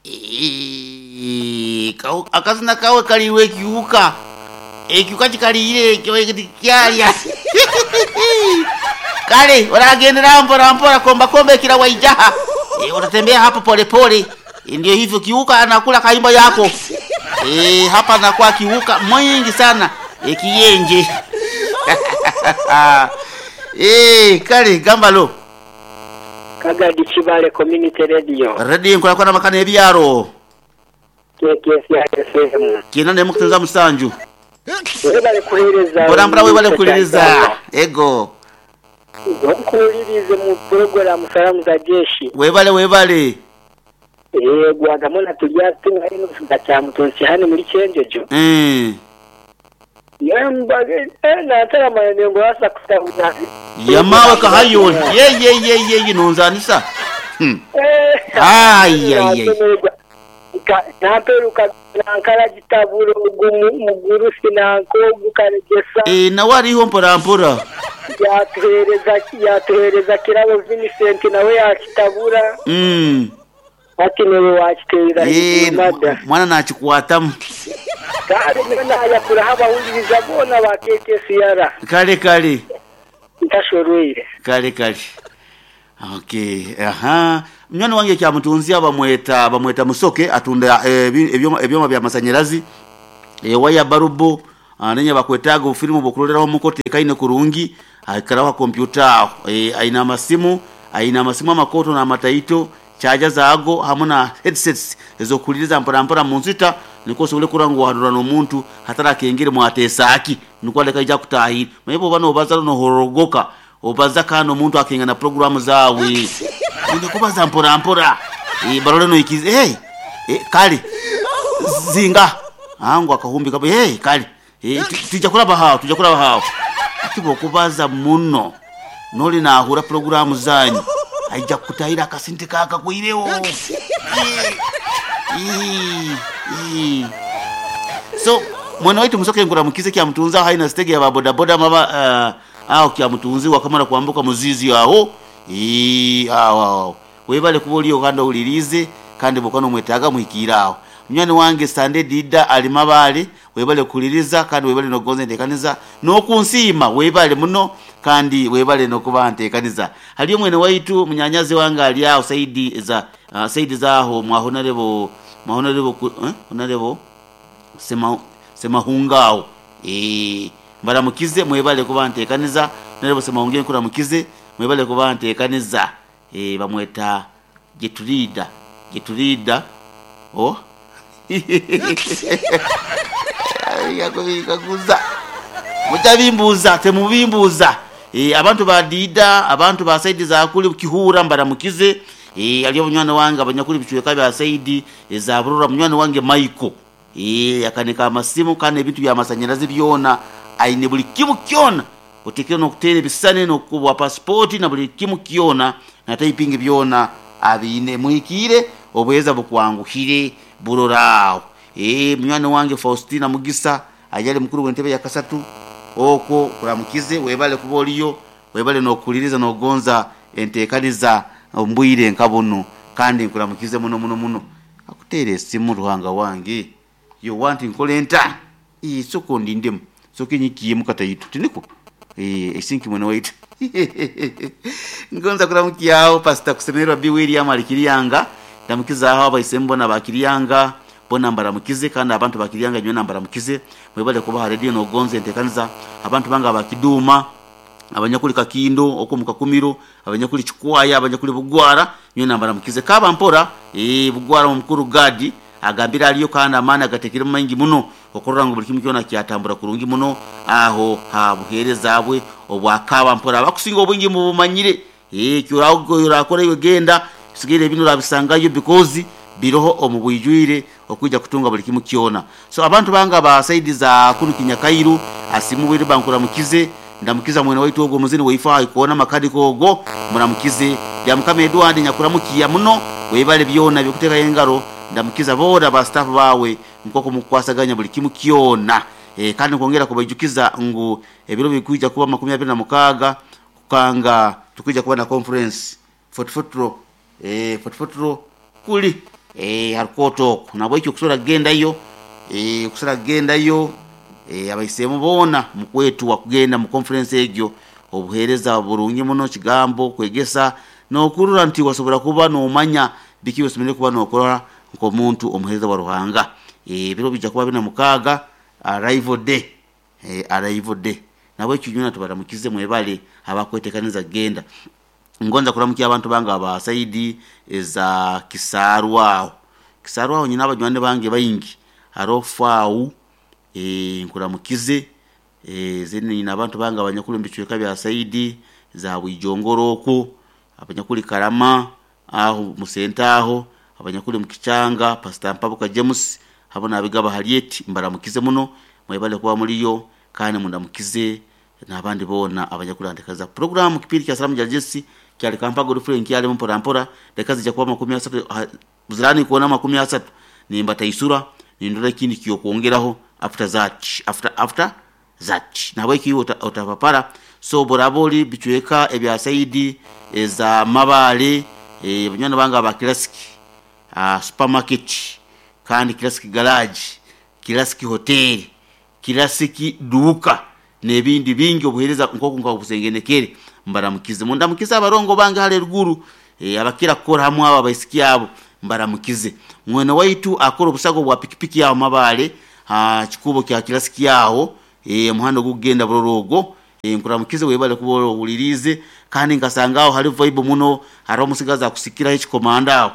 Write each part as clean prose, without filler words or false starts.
Eeh, akazina kawe kaliirwe ekiwuka. Ekiwuka kikaliire kyalya. Kale oragendera mpora mpora, komba komba ekira waijaha. E, utatembea hapo polepole. E, ndio hivyo kiuka anakula kaimbo yako. E, hapa anakuwa kiuka mwingi sana. E, kiyenje. E, kale gambalo. Kagadi Kibale Community Radio. Radio nkola makana ebyaro. KKS FM. Kina ne mukutenza musanju. Webale kuhereza. Mbora mbora webale kuhereza. Ego. Nkuwulirize mu program salamu za jeshi. Webale webale. Yego agamona tulya tunga ino gachamutonsi hano muri cyenjejo. Yambage natara manengo asa kutahuna. Yamawe kahayo. Ye ye ye ye ye nonzanisa. Ai ai ai. Namperuka nankala gitaburo mugurusi nanko gukaregesa. Eh nawe ariho mpora mpora. Yatuhereza kirabo Vincent nawe yakitabura. Ati niwe wakiterera mada. Mwana nakikwatamu. Kale nayakura abawuliriza bona ba KKCR. Kale kale. Ntashorweire. Kale kale. Okay, aha. Mnyani wange kya mutunzi bamweta Musoke atunda ebyoma bya masanyalazi. Waya barubo anenya bakwetaga ofilimu bokuloleraho mukote kaine kurungi akarawa kompyuta aina masimu amakoto na mataito chaja zaago hamwe na headsets ezokuliriza mpora mpora munzita niko sobole kurangwa hadura n'omuntu hatara kengere mwatesaki niko aleka ija kutahira mebo bano bazalo no horogoka obaza kano omuntu akenga na programu zawe ndikubaza mpora mpora barole no ikize hey kale zinga angu akahumbi kabo hey kale tujja kulaba hao atibo kubaza muno noli nahura programu zanyu aija kutahira akasente kaka kuirewo. So mwana wetu Musoke ngura mukize kya mutunza haina stege ya boda boda maba aho kya mutunzi wakamara kuambuka muzizi aho aho webale kuboliyo kandi ulirize kandi bokano mwetaga muhikira aho munywani wange Sande Dida alimabale webale kuliriza kandi webale nogonze ntekaniza nokunsima webale muno kandi webale nokuba ntekaniza haliyo mwene waitu munyanyazi wange ali aho Saidi za Saidi zaho mwa honorable honorable Semahungao mbaramukize mwebale kuba ntekaniza nerebo Semahunge nkuramukize mwebale kuba ntekaniza bamweta Geturida oh yakuza mutabimbuza temubimbuza abantu ba Dida abantu ba Saidi za kuli kihura mbaramukize aliyo munywani wange abanyakuli bichweka bya Saidi za burura munywani wange Michael akanika amasimu kana ebintu bya masanyalazi byona aine buli kimu kyona otekere nokutera ebisane nokubwa passport na buli kimu kyona na typing byona abine muhikire obweza bukwanguhire burorao munywani wange Faustina Mugisa ajali mukuru w'entebe ya kasatu oko kuramukize webale kuboliyo webale nokuliriza nogonza entekaniza mbwire nkabuno kandi nkuramukize muno muno muno akutere esimu ruhanga wange yo want nkolenta soko ndindemu soko nyikiye mukatayitu tiniko esinki mwene waitu ngonza kuramukiyaho Pastor Kusemererwa B William alikiriyanga ndamukiza aho abayisembo na bakiriyanga bona mbaramukize kandi abantu bakiriyanga nyo nambaramukize mwebale kuba radio nogonze entekaniza abantu banga bakiduma abanyakuli kakindo okomuka kumiro abanyakuli chikwaya abanyakuli bugwara nyo nambaramukize kaba mpora bugwara omukuru gadi agambira aliyo kandi amana agatekere mangi muno okorora ngo buli kimu kyona kyatambura kurungi muno aho ha buhereza bwe obwakaba mpora abakusinga obwingi mu bumanyire kyurago yurakora genda sigire bino rabisangayo because biroho omubwijwire okujja kutunga buli kimu kyona. So abantu banga ba saidi za kunu kinyakairu asimu bwire bankura mukize ndamukiza mwene waitu ogo muzini weifa ikuona makadi kogo muramukize ya mukame Edward nyakuramukiya muno webale byona byokuteka engaro ndamukiza boda ba staff bawe nkoko mukwasaganya buli kimu kyona. Kandi nkongera kubajukiza ngu ebiro bikuja kuba 26 kukanga tukija kuba na conference 44 44 kuli Ha rukooti okwo nabwekyo okusobora kugendayo, okusobora kugendayo, abaisemu boona mukwetwa kugenda mu conference egyo. Obuheereza burungi muno, kigambo kwegesa n'okurora nti wasobora kuba noomanya biki ebi kuba nookora nk'omuntu omuheereza wa Ruhanga. Ebiro bijja kuba 46, arrival day, arrival day. Nabwekyo inywena tubaramukize, mwebale abakwetekaniza kugenda. Ngonza kuramukya abantu bange aba saidi eza Kisarwa aho. Kisarwa aho nyine abanywani bange baingi. Haroho Fau, nkuramukize. Then nyine abantu bange abanyakuli omu bicweka bya saidi za Bwijongoro okwo, abanyakuli Karama aho Musenta aho, abanyakuli omu Kichanga, Pastor Mpabuka James hamu n'Abigaba Harriet, mbaramukize muno, mwebale kuba muliyo kandi mundamukize n'abandi boona abanyakurantekaniza puroguramu. Kipindi kya Salamu Jajesi kyali Kampaga Godfrey nkyalimu mpora mpora, dakika zijja kuba 30, ziraani kuona 30 nimbataisura nindora ekindi ky'okwongeraho after that, after that. Nahabweki iwe otapapara. So bworaba ori bicweka ebya saidi eza Mabaale, banywani bange aba Classic Supermarket, kandi Classic Garage, Classic Hotel, Classic Duuka n'ebindi bingi, obuheereza nk'oku nkabusengenekere, mbaramukize. Mundamukize abarongo bange hali eruguru, abakira kukora hamu abo abaisiki abo mbaramukize. Mwene waitu akora obusago bwa pikipiki aho Mabaale ha kikuubo kya Classic aho, omuhanda ogukugenda Buroro ogwo, nkuramukize webale kuba ohuliriize. Kandi nkasanga aho hali vibe muno, hariho omusigazi akusikiraho ekikomando aho.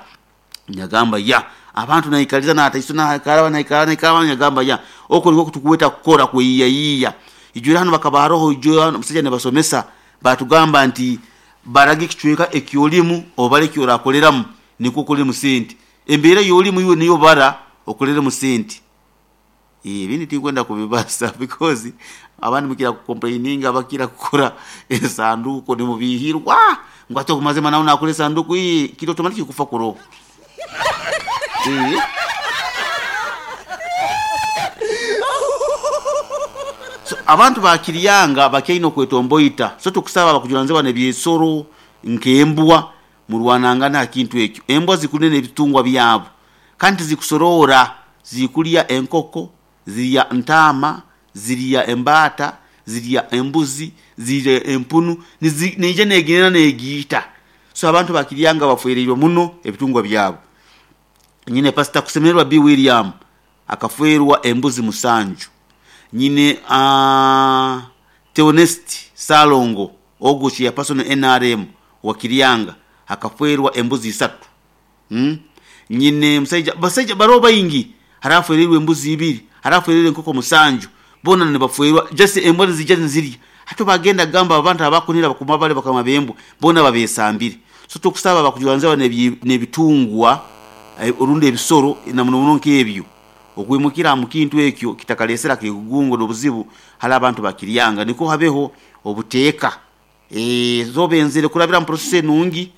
Nyagamba ya abantu naikaliza nataiso nakaraba naikara naikara, nyagamba ya okwo nikwo tukweta kukora kweyiyayiya. Ijwire hanu bakaba haroho ijwe hanu omusajja nibasomesa batugamba nti baraga ekicweka ekyolimu obare ekyorakoreramu nikwo okoreremu sente. Embeera ey'olimu iwe niyo bara okoreremu sente. Ebindi tinkwenda kubibaza because abandi mukira kucomplaininga, abakira kukora esanduuko nimubihirwa ngu ati okumazima nawe nakora esanduuko, kiri automatic kufa kuroho. So abantu bakiryanga bakyaine okwetomboita, so tukusaba abakujuranizibwa n'ebyesoro nk'embwa murwanangane ha kintu ekyo. Embwa zikunene ebitungwa byabo kandi tizikusoroora, zikulya enkoko, zirya ntaama, zirya embaata, zirya embuzi, zirya empunu, neija neginena negiita. So abantu bakiryanga bafwereirwe muno ebitungwa byabo. Nyine Pastor Kusemererwa B. William akafwerwa embuzi 7. Nyine Theonest Salongo ogwo chairperson NRM wa Kiryanga akafwerwa embuzi 3. Nyine musaija, basaija baroho baingi, hariho afwereirwe embuzi 2, hariho afwereirwe enkoko 7, boona nibafwerwa just embwa nizija nizirya. Hati bagenda kugamba abantu abakunira bakuma bale bakama b'embwa boona babesambire. So tukusaba abakujuranizibwa n'ebitungwa orundi ebisoro na muno muno nk'ebyo okwimukira mu kintu ekyo kitakalesera kegugungo n'obuzibu hali abantu bakiryanga, nikwo habeho obuteeka. So benzire kurabira mu process enungi.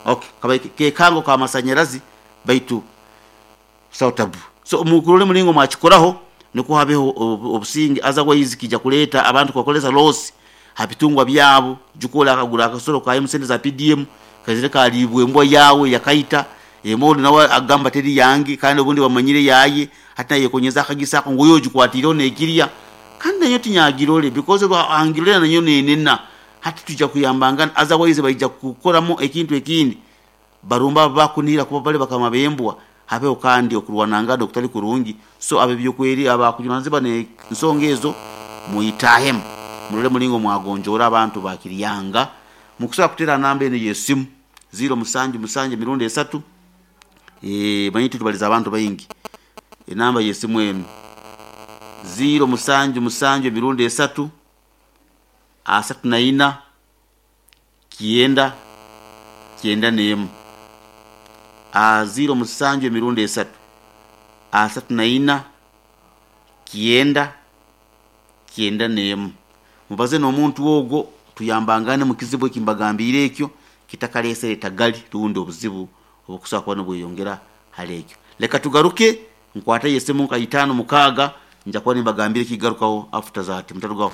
Okay, kabaire kekango k'amasanyarazi baitu busaho tabu. So mukurole mulingo mwakikoraho nikwo habeho obusinge, otherwise kija kuleeta abantu kubakolesa loss ha bitungwa byabo. Juka akagura akasoro kaye sente za PDM kaizire kaliibwa embwa yawe yakaita, ondi nawe agamba teri yange kandi obundi bamanyire yaye, hati nayekonyeza akagisa ako ngu oyo ogikwatiireho nekirya, kandi nayo tinyagirore because angirore nayo nenena. Hati tuija kuyambangana, otherwise baija kukoramu ekintu ekindi barumba abo bakunira kuba bali bakama b'embwa, habeho kandi okurwanangana okutali kurungi. So ab'ebyokweri abakujunaanizibwa n'ensonga ezo mwitahemu murole mulingo mwagonjoora abantu bakiryanga. Mukusobora kuteera namba enu ey'esimu 077 emirundi 3, manyire tubaliza abantu baingi. Enamba y'esimu enu 077 emirundi 3, 34 9 91. 07 emirundi 3, 34 9 91. Mubaze n'omuntu ogwo tuyambangane mu kizibu ekimbagambiire ekyo kitakalesere tagali rundi obuzibu obukusobora kuba nibweyongera hali ekyo. Leka tugaruke nkwate esimu nka 5 6 nja kuba nimbagambira ekigarukaho after that, mutarugaho.